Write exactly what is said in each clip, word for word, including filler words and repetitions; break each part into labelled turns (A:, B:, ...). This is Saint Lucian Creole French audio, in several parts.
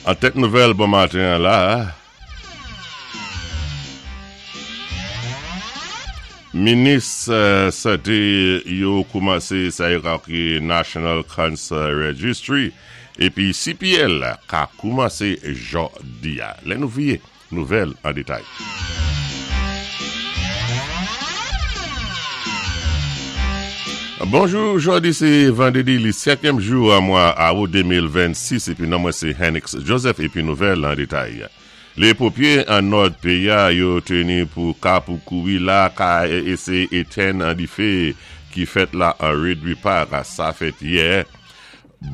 A: An tèt nouvèl bon maten la, Minis Santé yo koumansé sa yo ka kwé National Cancer Registry épi C P L ka koumansé jòdi a. Lè nou viwé nouvèl an détay. Bonjou, jòdi sé vandédi, li senkyèm jou an mwa awout de mil vennsis épi non mwen sé Henix Joseph épi nouvèl an détay. Lé ponpyé an nòd péyi a yo teni pou ka pou kouri la ka éséyé étenn an difé ki fèt la an Ridley Park. Sa fèt yè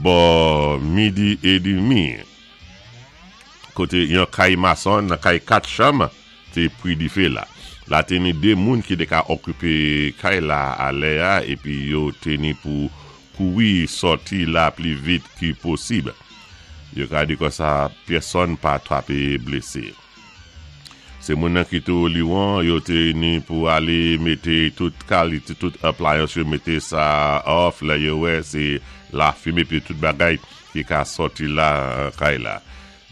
A: bò midi édmi koté yon kay mason nan kay kat chanm té pri difé la. La teni dé moun ki té ka okipé kay la a lè a épi yo teni pou kouri sòti la pli vit ki posib. Yo ka di konsa pèsonn pa twapé blésé. Sé moun nan ki tou liwon, yo teni pou alé mété tout kalité, tout appliance yo mété sa off la, yo wè sé lafimen épi tout bagay ki ka sòti la kay la.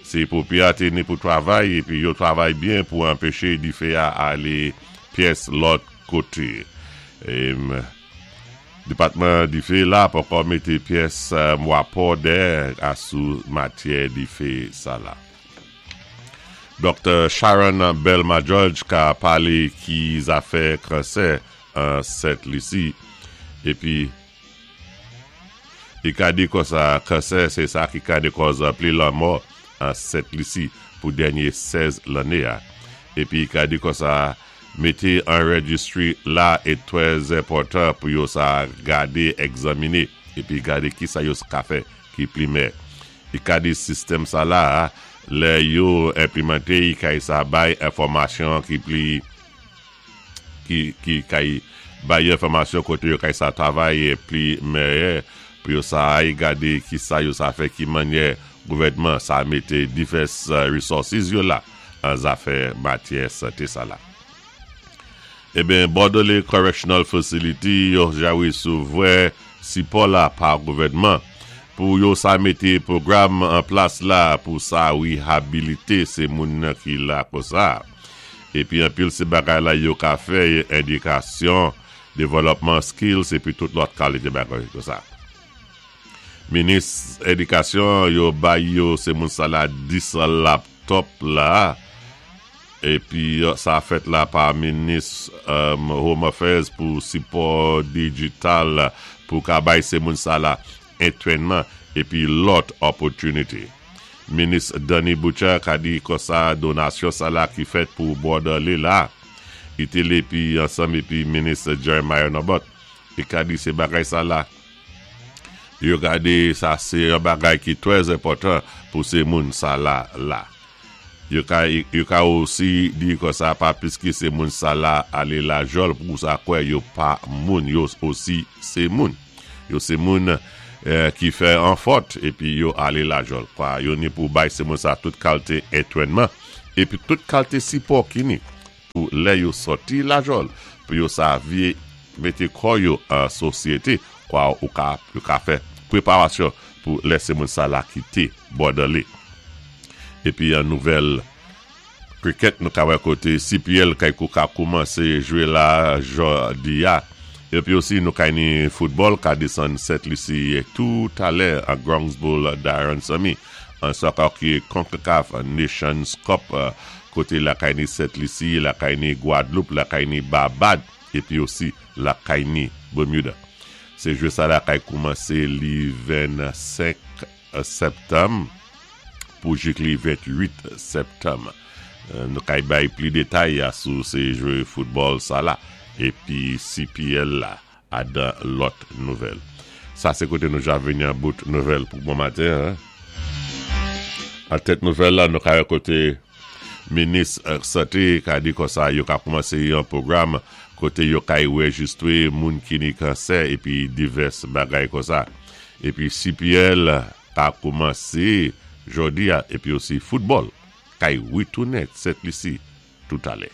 A: Sé ponpyé a teni pou travay épi yo travay byen pou anpéché difé a alé pyès lòt koté. Dépatman difé la poko mété pyès mwapò dè asou matyè difé sa la. Doktè Sharon Belma George ka palé ki zafè kansè an Sent Lisi épi i ka di konsa kansè sé sa ki ka dékòz pli lanmò an Sent Lisi pou dènyé sèz lanné a. Épi i ka di konsa mété an registry la é twè enpòtan pou yo sa gadé, egzaminé épi gadé ki sa yo ka fè ki pli mè. I ka di sistèm sa la, lè yo enplimanté i kay sa bay enfòmasyon ki pli ki, ki kay bay enfòmasyon koté yo kay sa travay pli mèyè pou yo sa ay gadé ki sa yo sa fè, ki mannyè gouvèdman sa mété divès resources yo la an zafè matyè santé sa la. Eben, Bordelais Correctional Facility yo ja wésouvoua sipò la pa gouvèdman pou yo sa mété pwogram an plas la pou sa wéhabilité sé moun nan ki la konsa. Épi anpil sé bagay la yo ka fè édikasyon, devlòpman skills épi tout lòt kalité bagay konsa. Minis édikasyon yo bay yo sé moun sa la dis laptop la épi sa fèt la pa minis um, Home Affairs pou sipò digital pou ka bay sé moun sa la antrénman épi lòt opportunity. Minis Danny Butcher ka di konsa donasyon sa la ki fèt pou Bordelais la. I té épi ansanm épi minis Jeremiah Nobert. I ka di sé bagay sa la. Yo gadé sa sé yon bagay ki twè enpòtan pou sé moun sa la la. Yo ka, yo ka osi di konsa pa piski sé moun sa la alé lajòl pou sa kwè yo pa moun, yo osi sé moun. Yo sé moun eh, ki fè an fòt épi yo alé lajòl. Kwa, yo ni pou bay sé moun sa tout kalité antrénman épi tout kalité sipò ki ni pou lè yo sòti lajòl pou yo sa vyé mété kò yo an sosyété kwa ou ka, yo ka fè préparasyon pou lè sé moun sa la kité Bordelais. Épi an nouvèl cricket nou ka wè koté C P L kay kou ka koumansé jwé la jòdi a. Épi osi nou kay ni football ka désann Sent Lisi tout alè an Bronx Bowl Darren Sami an soccer ki CONCACAF Nations Cup koté la kay ni Sent Lisi, la kay ni Guadeloupe, la kay ni Barbade épi osi la kay ni Bermuda. Sé jwé sa la kay koumansé li vennsenk septanm pou jik li ventwit septanm. Nou kay bay pli détay a sou sé jwé football sa la épi C P L la adan lòt nouvèl. Sa sé koté nou ja vini an bout nouvèl pou bon maten. An tèt nouvèl la nou kay koté minis santé ka di konsa yo ka koumansé yon pwogram koté yo kay wéjistwé moun ki ni kansè épi divès bagay konsa. Épi C P L ka koumansé jòdi a épi osi football kay witounen Sent Lisi tout alè.